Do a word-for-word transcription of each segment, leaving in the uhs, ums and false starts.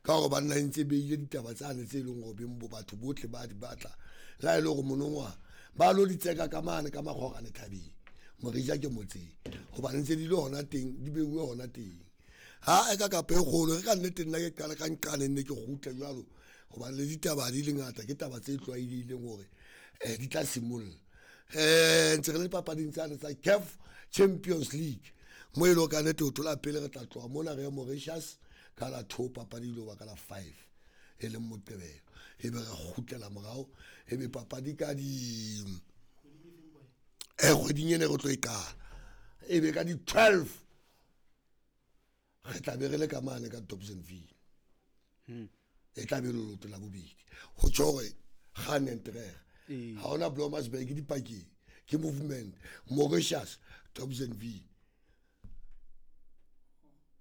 Ka gore banna e ntse beile ditaba tsane tse e leng gore beng bo batho botlhe ba di batla. Le ha e le gore monongwaga ba lo di tseka ka mane ka makgorane thabeng. Morija ke motseng. Hobane ntse di le hona teng, di beuwe hona teng. Ha e ka kapa e kgolo re ka nnete nna ke qala ka nqane nne ke kgutle jwalo. Hobane le ditaba di le ngata ke taba tse tlwaelehileng hore eh di tla simolla. Eh ntse re le papading tsane tsa C A F Champions League. Mo e leng ka nnete ho thola pele re tla tloha mona re ye Mauritius ka la two papadi ile ba ka la five e leng Moqebelo. E be re kgutlela morao e be papadi ka di eh kgweding ena re tlo e qala. E be ka di twelve re tla be re le ka mane ka Dobsonville. Hmm. E tla be leoto la bobedi. Ho tjho hore Ganentreg. Ee. Ha hona Blomersburg dipakeng. Ke movement Mauritius Dobsonville.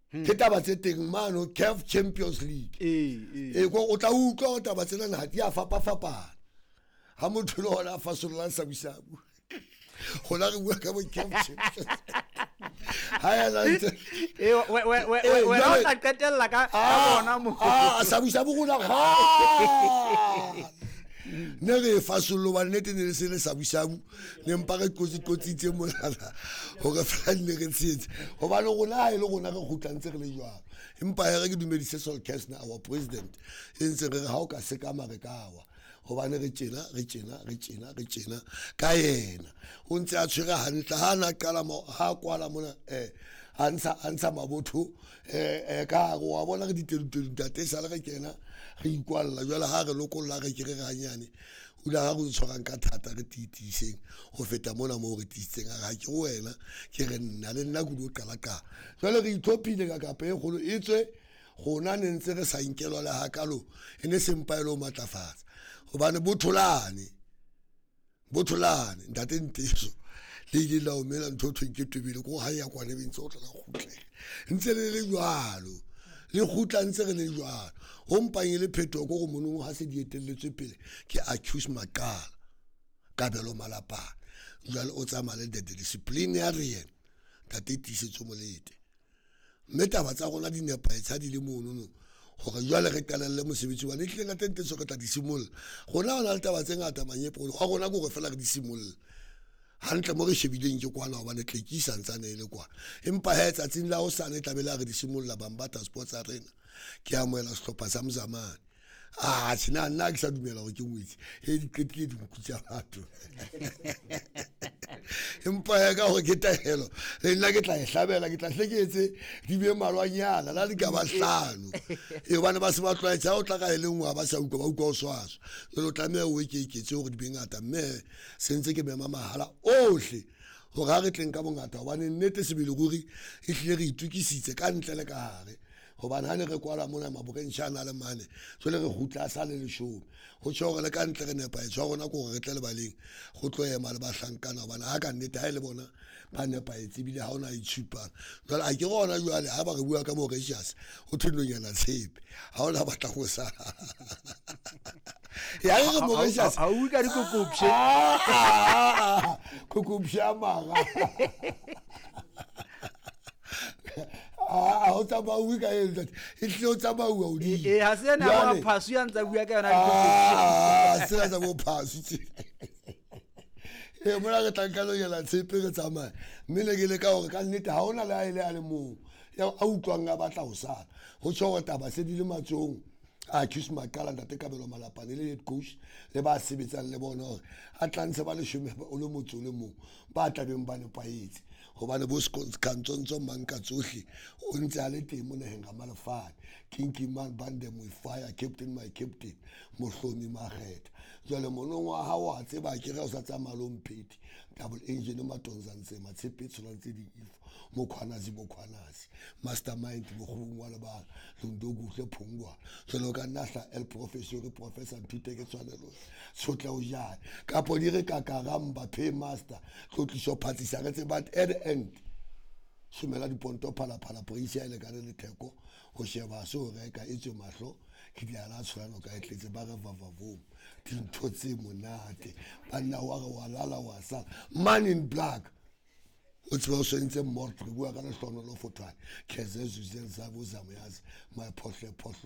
Hmm. Ke taba tse teng mano C A F Champions League. Ee, ee. E ko o tla utlwa hore taba tsena ha di a fapafapana. Ha motho le hona a fasollang sabusabu. Hona re bua ka bo C A F Champions. Ha ya la ntse. Eh, we, we, we, Eh, we, jwale o tla qetella ka, ka Ah, bona mo. ah, sabusabu rona ha. Ne re fasollo ba nnete ne le se le sabusabu, ne mpa re kotsi kotsitse molala hore fela ne re tshetse. Hobane rona ha e le rona re kgutla ntse re le jwalo. Empa ha re ke dumedise Sol Kestner, our president, e ntse re re ha o ka sekama re ka wa. Hobane re tjena, re tjena, re tjena, re tjena ka yena. O ntse a tshwere hantle ha na qala mo, ha kwala mona, eh, a ntsha, a ntsha mabotho, eh, eh, ka hare wa bona re ditedu-tedu ntate, esale re kena, re ikwalla. Jwale ha re lokolla re ke re re hanyane. O ile ha re tshwarang ka thata re tiitiseng ho feta mona moo re tiisitseng. A re ha ke ho wena, ke re nna le nna ke o qala qala. Jwale re itlhophile ka kapa e kgolo e tswe rona ne ntse re sa nkelwa le hakalo, e ne se mpa e le ho matlafatsa. Hobane botholane, botholane, ntate Nteso, le ile la omela ntho thweng ke twebele, ko ha ya kwana be ntse o tla la kgutlela. Ntse le le jwalo, le kgutla ntse re le jwalo. Ho mpang e le phetoho ko go monong ha se di etelletswe pele ke accuse Maqala, Kabelo Malapane. Jwale o tsamaya le the disciplinarian, ntate Tiisetso Molete. Mme taba tsa rona di nepahetse ha di le monono hore jwale re qalelle mosebetsi wa ne tlile ntate Nteso re tla di simolla. Rona ho na le taba tse ngata manyepo, wa rona ke hore fela re di simolle. Hantle mo re shebileng ke kwana hobane tlekisa ntsane e le kwana. Empa he tsatsing la hosane e tla be le ha re di simolla Bambata Sports Arena. Ke amohela sehlopha sa Mzamane. Ah, tjhe, nna, nna ke sa dumela hore ke ngwetsi. He, di qetile dinku tsa batho. Empa ya ka hore ke taelo, le nna ke tla e hlabela, ke tla hle ke etse di be malwanyana, la di ka ba hlano. E hobane ba se ba tlwaetse, ha o tla ka e le nngwe ha ba sa utlwa, ba utlwa o swaswa. Jwale o tlameha o ekeketse hore di be ngata, mme se ntse ke mema mahala ohle hore ha re tleng ka bongata, hobane nnete sebele ruri e hlile re itokisitse ka ntle le ka hare. Hobane ha ne re kwala mona maborentjha a na le mane, jwale re kgutla a sa le leshome. Ho tjho hore le ka ntle re nepahetse, wa rona ke hore re tle lebaleng, go tlo ema le bahlankana, hobane ha ka nnete ha e le bona ba nepahetse ebile ha hona itshupang. Jwale a ke re hona jwale ha ba re bua ka Mauritius, ho thwe nonyana tshepe, ha hona batla ho sala. Ya re Ha, ha, Mauritius. ha, ha o ka dikokopshe. Ah, ah, ah, ah, kokopshe a mara. Ah, o tsamauwe ka eng, ntate? E hlile o tsamauwa hodimo. Eh, eh, ha se ena ya Jwale bo Phasu ya ntsa bua ka yona dikokopshe. Ah, sena tsa bo Phasu tse. Eh, mona re tla nka nonyana tshepe re tsamaye. Mme ne ke leka hore ka nnete ha hona le ha e le a le mong ya a utlwang a batla ho sala. Ho tjho hore taba se di le matsohong a accuse Maqala, ntate Kabelo Malapane le head coach le ba sebetsang le bona hore a tla ntshe ba leshome o le motse o le mong ba tlabeng ba nepahetse. Hobane bo Skhantsontso mang ka tsohle o ntse a le teng mo naheng ga Malefane. King King man bande mo fire captain my captain Mohlomi Makgetha. Jwale monong wa hao wa tseba ke re o sa tsamaya le Mpheti double engine Matonza ntse matshepe tsholang tse ding ifo Mokhwanazi Mokhwanazi mastermind mokgong wa lebala Londokuhle Phongwa. Jwale o ka nna hla El Professor Professor Nthute ke tshwanelo tshotla o jane kapo di re kakaramba pay master tlotliso phatsisa re tseba at the end somela diponto phala phala price ya lekane le theko ho sheba se o reka e tswe mahlo ke di ala tshwanelo ka e tletse ba re vavavong dintho tse monate banna wa re wa lala wa sala man in black o tseba o swentse mort re bua ka lehlono lo fothwane keze zuzen sa bo zamoyazi my phohle phohle.